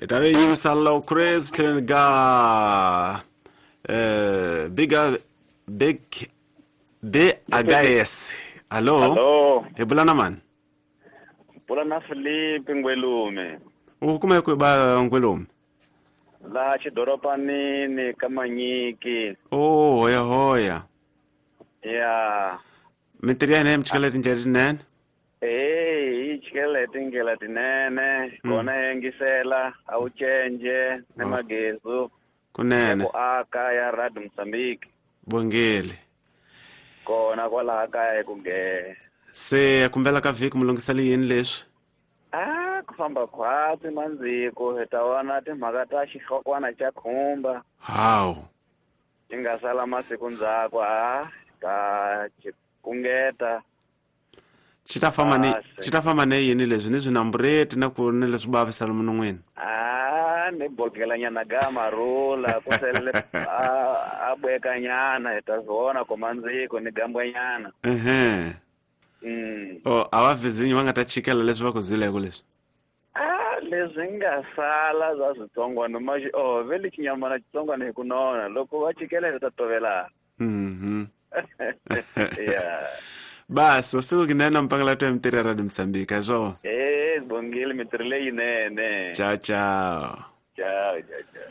Hi ta ve yimisa low Chris tlhelo ga biga big B Agayes. Hello. Hello. Hi bula na mani? Bula na Filipe Ngwelume. U kuma ku ba Ngwelume? Laha xidoropanini ka Manyiki. Oh, hoya hoya. Ya. Mintirho ya hina yi mi chikela tindlela tinene? Hey, yi chikela hi tindlela tinene. Kona yi yingisela, a wu cence ni magezu. Kunene. Ya ku aka ya Radio Mozambique. Bongile. Kona kwalaha kaya hi ku nge. Se kumbela ka vhiki mu lunghisele yini leswi? Ah, ku famba khwatsi mandziko hi ta vona timhaka ta xihlokwana xa khumba. Hawu. Xi nga sala masiku ndzhaku ha ta xikungeta. Xi ta famba ni xi ta famba ni yini leswi ni swinambureti na ku ni leswi bavisela munon'wini? Ah, ni bokelanyana ga marula ku sele a bwekanyana hi ta vona ku mandziko ni gambwanyana. Ehe. Oh, a va vizinyi va nga ta chikela leswi va ku zileko leswi? Ah, leswi nga sala bya switsongwana ma xi oh vele xinyamana xitsongwana hi ku nona loko va chikela hi ta tovela. Yeah. Basi usiku kinene mpangela twa mitirho ya Radio Mozambique swo. Eh, bongile mitirho leyinene. Ciao ciao. Ciao ciao ciao.